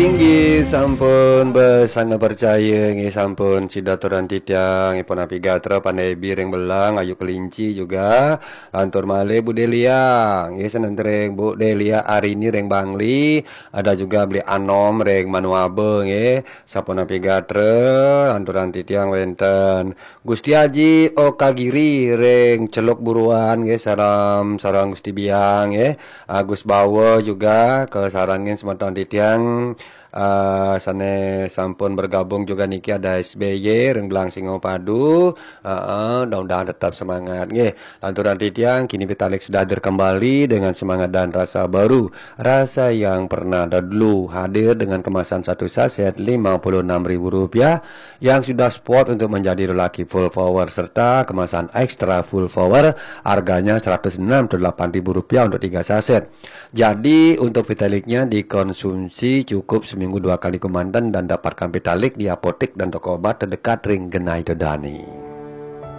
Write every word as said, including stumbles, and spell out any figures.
Inggih sampun besanget percaya, nggih sampun sida aturan titiang, nggih pun api gatra Pandai Bi ring Belang, Ayu Kelinci juga, lantur malih Bu Delia, nggih senentring Bu Delia Arini ring Bangli, ada juga Beli Anom ring Manuaba, nggih sampun api gatra, lanturan titiang wenten Gusti Aji Okagiri ring Celuk Buruan, nggih sareng, sareng Gusti Biang, nggih. Agus Bawa juga kasarengin semeton titiang, eh, sane sampun bergabung juga niki ada S B Y ring Belang Singapadu. Heeh, mudah-mudahan tetap semangat, nggih. Lanturan titiang, kini Pitalig sudah hadir kembali dengan semangat dan rasa baru. Rasa yang pernah ada dulu hadir dengan kemasan satu saset lima puluh enam ribu rupiah yang sudah spot untuk menjadi lelaki full power serta kemasan extra full power harganya seratus enam puluh delapan ribu rupiah untuk tiga saset. Jadi untuk Pitalignya dikonsumsi cukup seminggu dua kali kemanten dan dapatkan Pitalig di apotek dan toko obat terdekat ring genah ida dane.